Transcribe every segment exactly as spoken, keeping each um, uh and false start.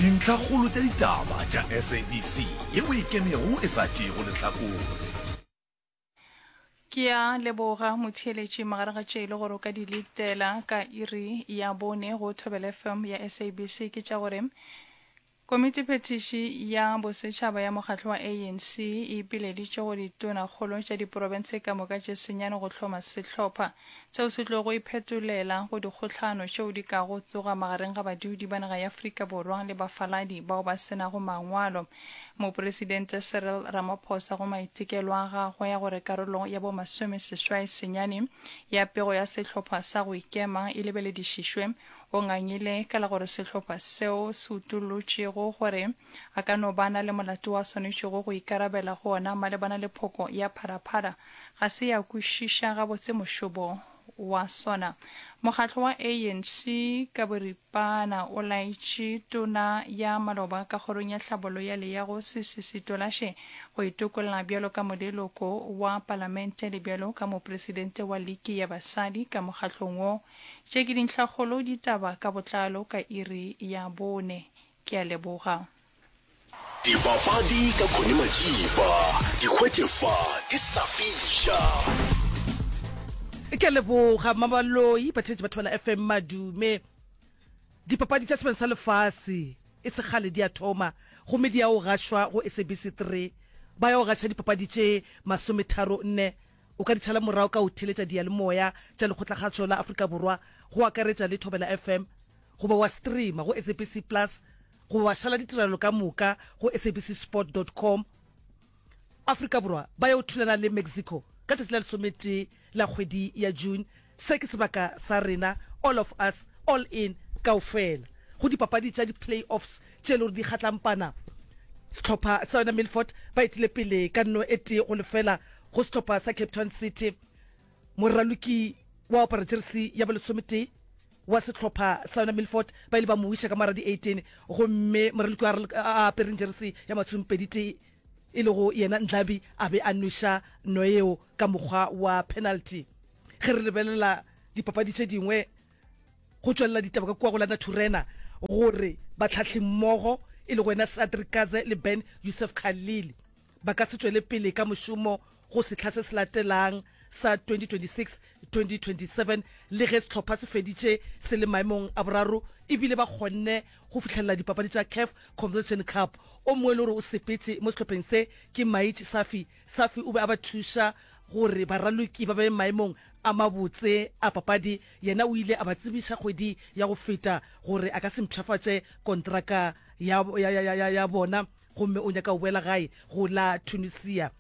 Dintlhakgolo tša ditaba tša S A B C yeo e kemego e sa tšeego lehlakore. Ke a leboga motheeletši magareng ga tše e le gore o ka di letela ka iri ya bone go Thobela F M ya S A B C ke tša gore Komitiphethiši ya Bosetšhaba ya Mokgatlo wa A N C e ipileditše go ditonakgolo tša diprofense ka moka tše senyane go hloma sehlopha seo se tlogo iphetolela go dikgohlano tšeo di kago tsoga magareng ga badudi ba naga ya Afrika Borwa le bafaladi bao ba se nago mangwalo. Mopresidente Cyril Ramaphosa go maitekelo a gagwe ya gore karolo ya bo masomeseswai senyane ya pego ya sehlopha sa go ikema e lebeledišišwe o ngangile ka la gore sehlopha seo se utollotšego gore a ka no ba na le molato wa swanetšego go ikarabela go ona malebana le phoko ya Phala Phala ga se ya kwešiša gabotse mošomo wa sona. Mokgatlo wa A N C ka boripana o laetše tona ya maloba ka kgorong ya tlhabollo ya leago Sisi Tolashe go itokolla bjalo ka moleloko wa palamente le bjalo ka mopresidente wa liki ya basadi ka mokgatlong wo. Tše ke dintlhakgolo ditaba ka botlalo ka iri ya bone. Ke a leboga. Dipapadi ka Connie Majiba, di hwetše fa di sa fiša. Ke a leboga Mabaloi, batheetši ba Thobela F M madume. Dipapadi tša Sebeng sa Lefase e se kgale di a thoma gomme di ya go gašwa go S A B C three. Ba ya go gaša dipapadi tše masometharo nne. O ka di tšhala morago ka go theeletša diyalemoya tša Lekgotlakgašo la Afrika Borwa go akaretša le Thobela F M goba wa streama go S A B C Plus goba wa šala ditirelo ka moka go S A B C sport dot com. Afrika Borwa ba ya go thulana le Mexico ka tšatši la lesometee la kgwedi ya June. Se ke sebaka sa rena, all of us, all in, kaofela. Go dipapadi tša di-play-offs tše e le gore di kgatlampana, sehlopha sa yona Milford ba etile pele ka nno e tee go lefela go sehlopha sa Cape Town City. Moraloki wa apara jeresi ya bolesometee wa sehlopha sa yona Milford ba ile ba mo wiša ka morago di eighteen gomme moraloki wa a apereng jeresi ya masomepedi tee e lego yena Ndlabi a be a nweša no yeo ka mokgwa wa penalty. Ge re lebelela dipapadi tše dingwe go tšwelela ditaba ka kua go la Naturena gore batlhahlimmogo e lego yena Cedric Kaze le Ben Youssef Khalil ba ka se tšwele pele ka mošomo go sehla se se latelang sa twenty twenty-six twenty twenty-seven le ge sehlopha se feditše se le maemong a boraro ebile ba kgonne go fihlelela dipapadi tša CAF Confederation Cup. O mongwe e le gore o sepetše mo sehlopheng se ke Maich Safi. Safi o be a ba thuša gore baraloki ba be maemong a mabotse a papadi. Yena o ile a ba tsebiša kgwedi ya go feta gore a ka se mpshafatše kontraka ya, ya, ya, ya, ya bona gomme o nyaka go boela gae go la Tunisia.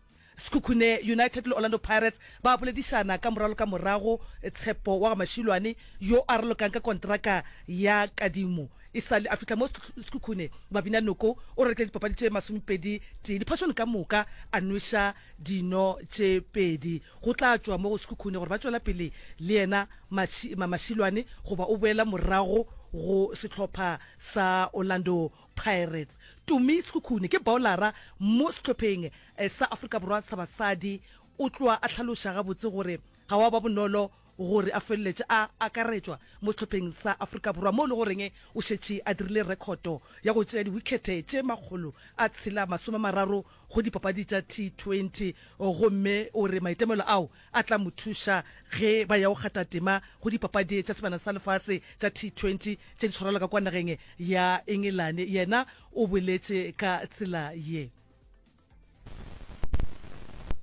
Sekhukhune United le Orlando Pirates ba boledišana ka moralo ka morago. Tshepo wa ga Mashilwane yo a ralokang ka kontraka ya kadimo e sa le a fihla mo Sekhukhune Babina Noko o rekile dipapadi tše masomepedi tee diphašone ka moka a nweša dino tše pedi. Go tla tšwa mo go Sekhukhune gore ba tšwela pele le yena Mashilwane goba o boela morago go sehlopha sa Orlando Pirates. Tumi Sekhukhune ke bowlara mo sehlopheng sa Afrika Borwa sa basadi. O tloa a hlaloša gabotse gore ga wa ba bonolo gore a feleletše a akaretšwa mo sehlopheng sa Afrika Borwa mo e le goreng o šetše a dirile rekhoto ya go tšea diwikhete tše makgolo a tshela masome mararo go dipapadi tša T twenty gomme o re maitemelo ao a tla mo thuša ge ba ya go kgatha tema go dipapadi tša Sebjana sa Lefase tša T twenty tše di tshwarelwa ka kwa nageng ya Engelane. Yena o boletše ka tsela ye.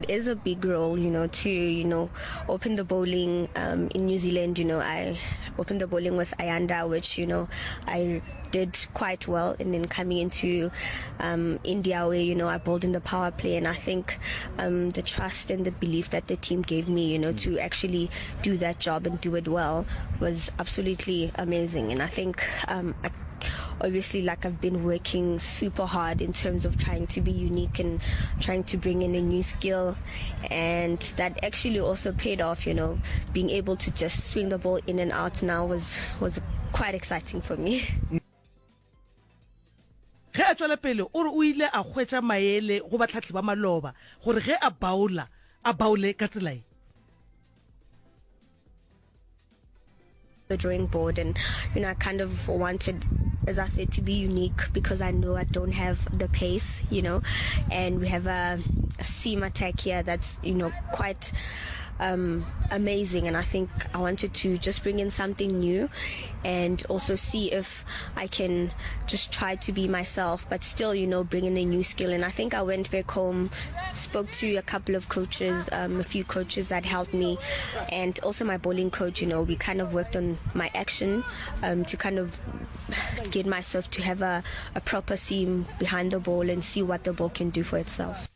It is a big role, you know, to, you know, open the bowling um, in New Zealand. You know, I opened the bowling with Ayanda, which, you know, I did quite well. And then coming into um, India, where, you know, I bowled in the power play. And I think um, the trust and the belief that the team gave me, you know, to actually do that job and do it well was absolutely amazing. And I think um, I obviously, like, I've been working super hard in terms of trying to be unique and trying to bring in a new skill, and that actually also paid off. You know, being able to just swing the ball in and out now was was quite exciting for me. Ge a tšwela pele o re o ile a hwetša maele go bahlahli ba maloba gore ge a bowla a bowle ka tsela ye. The drawing board and you know I kind of wanted as I said, to be unique because I know I don't have the pace, you know, and we have a, a seam attack here that's, you know, quite um, amazing. And I think I wanted to just bring in something new and also see if I can just try to be myself, but still, you know, bring in a new skill. And I think I went back home, spoke to a couple of coaches, um, a few coaches that helped me, and also my bowling coach, you know, we kind of worked on my action um, to kind of get myself to have a, a proper seam behind the ball and see what the ball can do for itself.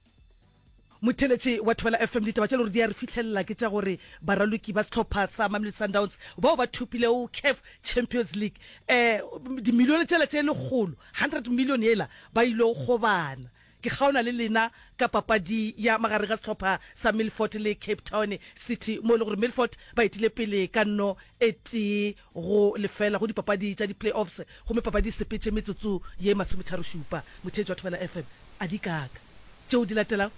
Motheeletši wa Thobela F M, ditaba tše le gore di a re fihlelela ke tša gore baraloki ba sehlopha sa Mamelodi Sundowns bao ba thopilego CAF Champions League um dimilione tšela tše lekgolo, hundred million yela, ba ile gobana. Ke kgaona le lena ka papadi ya magareng ga sehlopha sa Milford le Cape Town City mo e le gore Milford ba etile pele ka nno e tee go lefela go dipapadi tša di-playoffs gomme papadi e sepetše metsotso ye masometharo-šupa. Motheetši wa Thobela F M, a di kaaka tšeo di latelago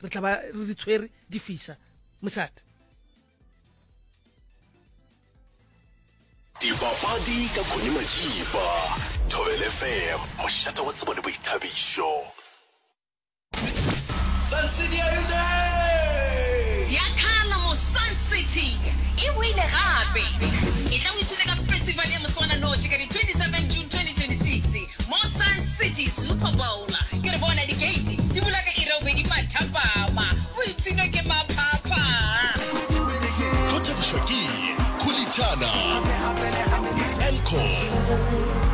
re tla ba re di tshwere di fiša mošate. Dipapadi ka Connie Majiba, Thobela F M, mošate wa tsebo le boithabišo. Sun City, are you there? Ziakhala mo Sun City e boile gape. Etla o ithute ka festival ya moswananoši ka di twenty-seven June twenty twenty-six mo Sun City Super Bowl. Ke re bona di-gate di bula ka iri ya bobedi mathapama. Boipshino ke maphapha. Tlo thabišwa ke Khulitšana, Elcor.